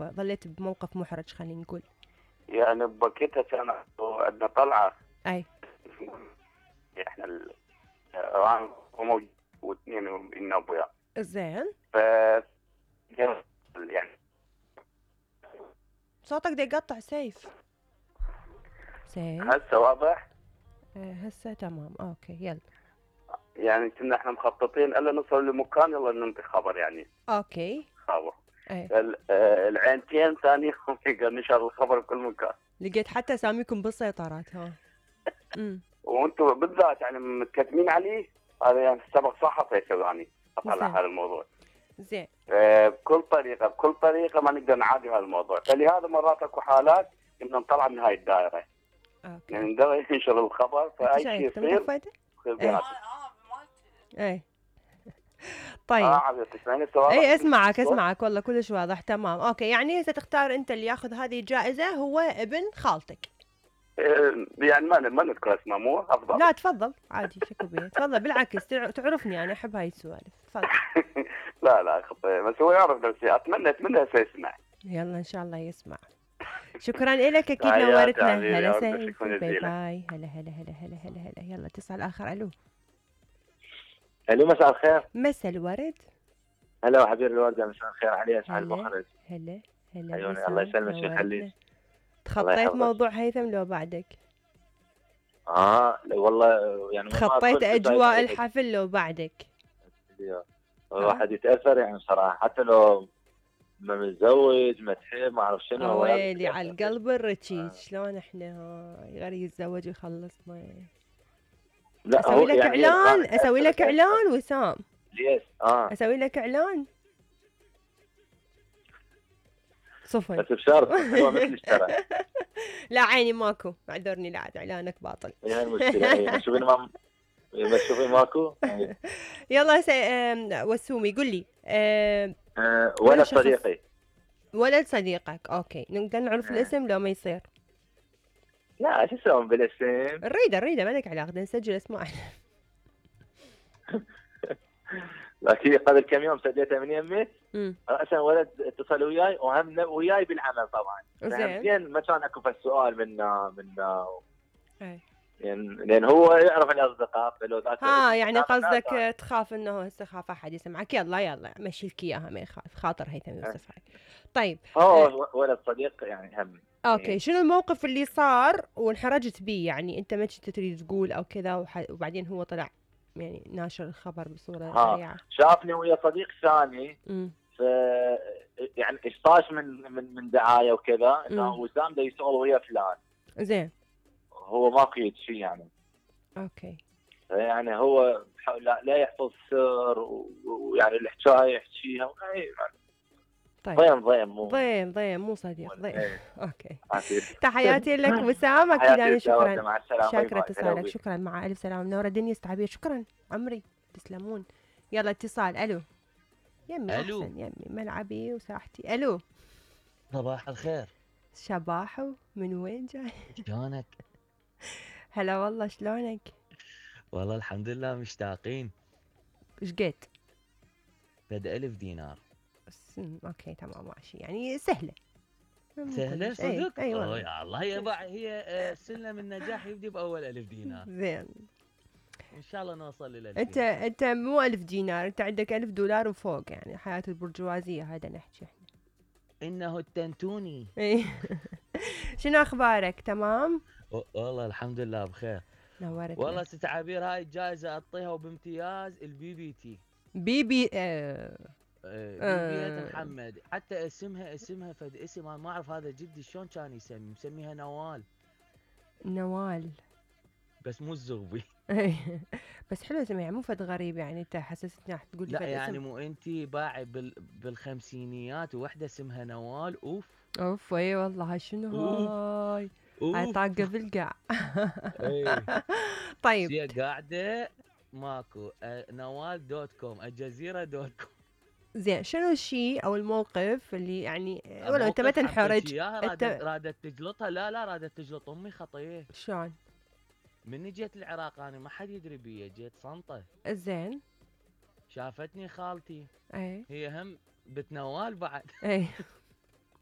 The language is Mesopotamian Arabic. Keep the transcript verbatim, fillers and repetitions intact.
موقف ظليت بموقف محرج خلينا نقول. يعني بوقتها كان عندنا طلعة. اي. احنا الران وموجود واثنين من ابويا. زين. ف يعني صوتك دا يقطع سيف. سيف. هسه واضح؟ ايه هسه تمام اوكي يلا. يعني كنا احنا مخططين الا نوصل لمكان يلا ننطي خبر يعني. اوكي. خبر. ايه. العينتين ثاني نشر الخبر بكل مكان. لقيت حتى اساميكم بالسيطرات ها. امم. وانتم بالذات يعني متكتمين عليه، هذا يعني سبق صحفي كذاني اطلع هذا الموضوع. زين. آه بكل طريقه بكل طريقه ما نقدر نعادي هذا الموضوع، فلهذا مرات اكو حالات كنا نطلع من هاي الدائره. اوكي. يعني نقدر ننشر الخبر فاي شيء يصير. ايه. ايه. طيب. اه اي اسمعك اسمعك والله كلش واضح تمام. اوكي يعني هسه تختار انت اللي ياخذ هذه الجائزه هو ابن خالتك. يعني ما ما نذكر اسمه مو افضل. لا تفضل عادي شكو بيه تفضل بالعكس تعرفني انا احب هاي السوالف تفضل. لا لا خطير بس هو يعرف نفسي اتمنى اتمنى يسمع. يلا ان شاء الله يسمع. شكرا لك اكيد نورتنا. هلا سيف باي باي. هلا هلا هلا هلا هلا هلا يلا اتصال اخر. الو الو مساء الخير. مساء الورد. هلا وحبيب الوردة مساء الخير علي اسعد المخرج. هلا هلا عيوني الله يسلمك ويخليك. تخطيت موضوع هيثم لو بعدك؟ اه والله يعني تخطيت اجواء الحفل لو بعدك؟ الواحد يتاثر يعني صراحه حتى لو ما متزوج ما تحب ما اعرف شنو. ويلي على القلب الرشيد. آه. شلون احنا هاي غير يتزوج ويخلصنا. لا اسوي لك يعني اعلان اسوي لك اعلان وسام. ليش؟ اه اسوي لك اعلان صفن بس بشرط هو مثل اشترى. لا عيني ماكو اعذرني لا اعلانك باطل. هي المشكله شوفين ما بس شوفين ماكو. يلا سي... وسومي قل لي أه... أه ولد صديقي. ولد صديقك اوكي نقدر نعرف أه. الاسم لو ما يصير؟ لا شو تسوون بالاسم؟ نريده نريده ما لك علاقه بدنا نسجل اسماء. لكن قبل كم يوم سجلتها من يمي راسا ولد اتصل وياي وهم وياي بالعمل طبعا. زين. ما كان اكو السؤال من من اي يعني لان هو يعرف الاصدقاء فلو ذاك ها يعني قصدك تخاف انه هسه خاف احد يسمعك. يلا يلا مشي لك اياها ما يخاف خاطر هيثم يوسف هاي. طيب هو أه. ولد صديق يعني هم. اوكي يعني. شنو الموقف اللي صار وانحرجت بيه يعني انت ما كنت تريد تقول او كذا وح... وبعدين هو طلع يعني ناشر الخبر بصوره سريعه؟ شافني ويا صديق ثاني ف يعني اشطاش من من من دعايه وكذا انه وسام ده يشتغل ويا فلان. زين. هو ما قيد شيء يعني. اوكي. يعني هو لا, لا يحفظ سر ويعني الحكايه يحكيها يعني طيب. ضيم ضيم مو ضيم ضيم مو صديق ضيم. ايه. اوكي. عسير. تحياتي لك وسام اكيد انا شكرا. مع السلامه. شاكره اتصالك شكرا مع الف سلامه منوره الدنيا استعبير. شكرا عمري تسلمون. يلا اتصال. الو يمي الو احسن يمي ملعبي وساحتي. الو صباح الخير. شباحو من وين جاي؟ شلونك؟ هلا والله شلونك؟ والله الحمد لله مشتاقين. ايش قد؟ فد ألف دينار. اوكي تمام ماشي يعني سهله. سهله صدق؟ اي والله يا الله هي هي سلم النجاح يبدي باول ألف دينار. زين ان شاء الله نوصل للألف. انت دينار. انت مو ألف دينار انت عندك ألف دولار وفوق يعني حياه البرجوازيه هذا نحكي احنا. انه التنتوني. شنو اخبارك تمام؟ والله الحمد لله بخير. نورتنا. والله ست عبير هاي الجائزه اعطيها وبامتياز البي بي تي. بي بي آه. بيبي محمد حتى اسمها اسمها فد اسم انا ما اعرف هذا جدي شلون كان يسمي مسميها نوال. نوال بس مو الزغبي. بس حلو اسمها مو فد غريب يعني انت حسستني راح تقول لي لا يعني مو انت باعي بال بالخمسينيات وحده اسمها نوال. اوف اوف اي والله شنو هاي هاي طاقه بالقاع. طيب هي قاعده ماكو نوال دوت كوم الجزيره دوت كوم. زين شنو الشيء او الموقف اللي يعني ولو انت ما تنحرج انت رادت تجلطها؟ لا لا رادت تجلط امي خطيه. شلون؟ مني جيت العراق انا ما حد يدري بيا جيت صنطه. زين شافتني خالتي اي هي هم بتنوال بعد. اي